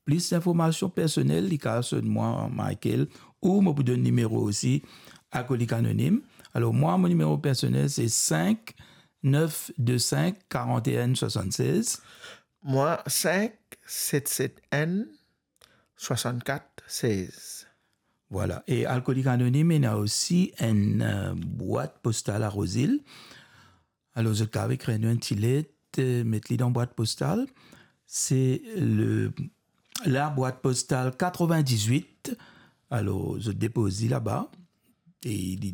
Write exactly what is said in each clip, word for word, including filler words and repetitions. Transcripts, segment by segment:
plis linformasion personel, li kapav sonn mwa, Michael, ou mo pou donn nimero osi Alkolik Anonim. Alor, mwa, mo nimero personel, se cinq neuf deux cinq quarante et un soixante-seize. Mwa, cinq sept sept un soixante-quatre seize. Vwala. E Alkolik Anonim, ena osi enn, eh, bwat postal a Rosil. Alor, zot kapav ekrir nou enn ti let, eh, met li dan bwat postal. Se le, la bwat postal quatre-vingt-dix-huit. Alor, zot depoz li laba. E li,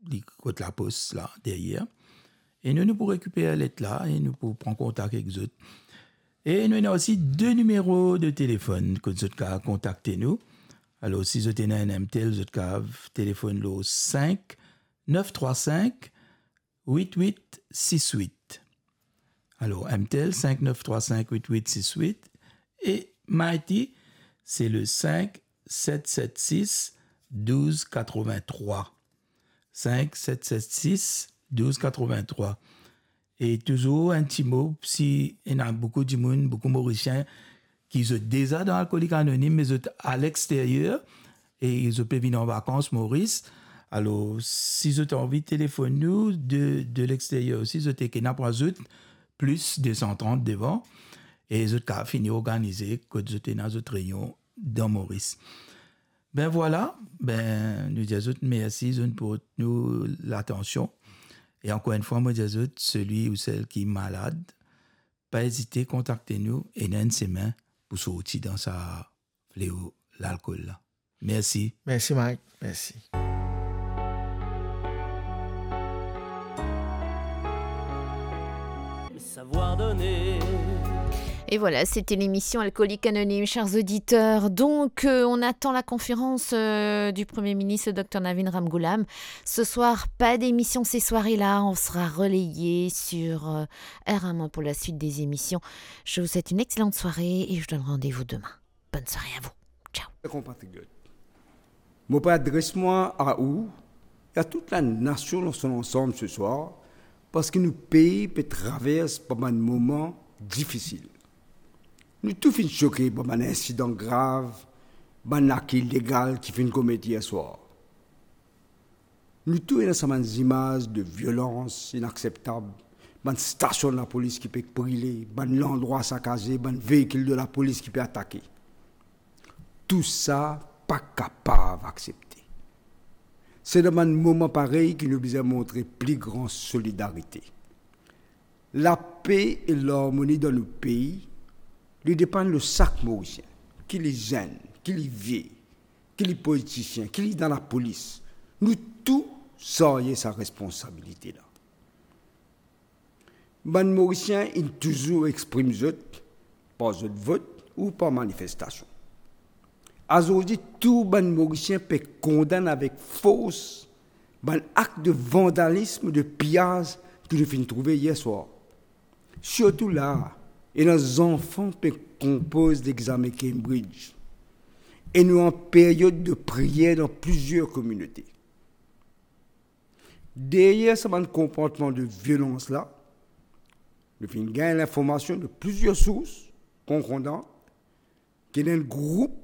li kot lapos la, deryer. E nou, nou pou rekiper let la e nou pou pran kontak ek zot. E nou ena osi de nimero de telefonn kot zot kapav kontakte nou. Alor, si zot ena enn M T L, zot kapav telefonn lor cinq neuf trois cinq huit huit six huit. Alor, M T L, cinq neuf trois cinq huit huit six huit. E Mighty, se le cinq sept sept six douze quatre-vingt-trois. Cinq sept sept six douze quatre-vingt-trois. E touzour enn ti mo, si ena boukou dimoun, boukou Morisien ki zot deza dan Alkolik Anonim, me zot a lexteryer, e zot pe vinn an vakans Moris. Alor, si zot anvi telefonn nou de, de lexteryer osi, zot ena pou azout plis de san trant devan, e zot kapav fini organize kot zot ena zot reynion dan Moris. Be vwala, be nou dir zot mersi, zot inn port nou latansion. E ankor enn fwa, mo dir zot, selwi ou sel ki malad, pa ezite kontakte nou, ena enn semin pou sorti dan sa fleo lalkol la. Mersi. Mersi, Mike. Mersi. Savoir donner. Et voilà, c'était l'émission Alcoolique Anonyme, chers auditeurs. Donc, euh, on attend la conférence, euh, du Premier ministre, le docteur Navin Ramgoolam. Ce soir, pas d'émission ces soirées-là. On sera relayé sur, euh, R M un pour la suite des émissions. Je vous souhaite une excellente soirée et je vous donne rendez-vous demain. Bonne soirée à vous. Ciao. Konpatriyot, mo pe adres mwa a ou e a tout lanasion dan so lansam se swar, parski nou pei pe travers par bann moman difisil. Nou tou finn soke par bann insidan grav, bann lak ilegal ki finn komet yer swar. Nou tou ena sa bann zimaz de violans inakseptab, bann stasion lapolis ki pe brile, bann landrwa sakaze, bann veikil de lapolis ki pe atake. Tousala pa kapav aksepte. Se dan bann moman parey ki nou bizin montre pli gran solidarite. Lape e larmoni dan nou pei, li depann lor sak Morisien, ki li zenn, ki li vie, ki li politisien, ki li dan lapolis, nou tou sarye sa responsabilite la. Bann Morisien inn touzour exprim zot par zot vot ou par manifestasion. Azordi, tou bann Morisien pe kondann avek fors bann ak de vandalism, de piyaz ki nou finn trouve yer swar. Sirtou la, ena zanfan pe konpoz lexamen Cambridge. E nou an period de priyer dan plizier kominote. Deryer sa bann konportman de violans la, nou finn gagn linformasion de plizier sours konkordan ki ena enn group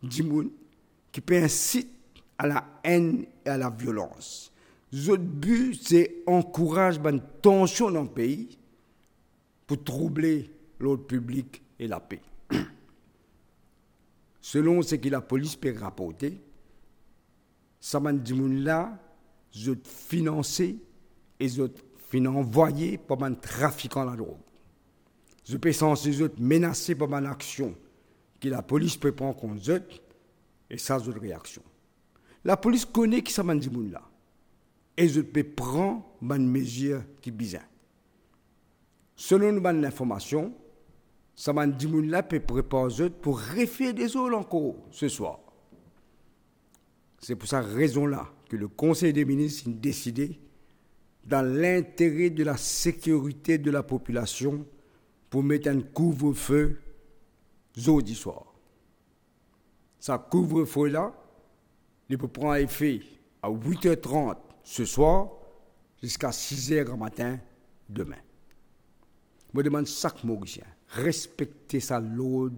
dimoun ki pe insit a laenn e a laviolans. Zot bi se ankouraz bann tansion dan pei pou trouble lord piblik e lape. Selon seki lapolis pe raporte, sa bann dimoun la, zot finanse e zot finn anvwaye par bann trafikan ladrog. Zot pe sanse zot menase par bann aksion ki lapolis pe pran kont zot, e sa zot reaksion. Lapolis kone ki sa bann dimoun la, e zot pe pran bann mezir ki bizin. Selon nou bann linformasion, sa bann dimoun la pe prepar zot pou refer dezord ankor se swar. Se pou sa rezon la ki le Konsey de Minis inn deside, dan lintere de la sekirite de lapopilasion, pou met enn kouvrefe zordi swar. Sa kouvrefe la, li pou pran efe a wit er trant se swar ziska siz er gramatin demin. Mo demann sak Morisien respekte sa lord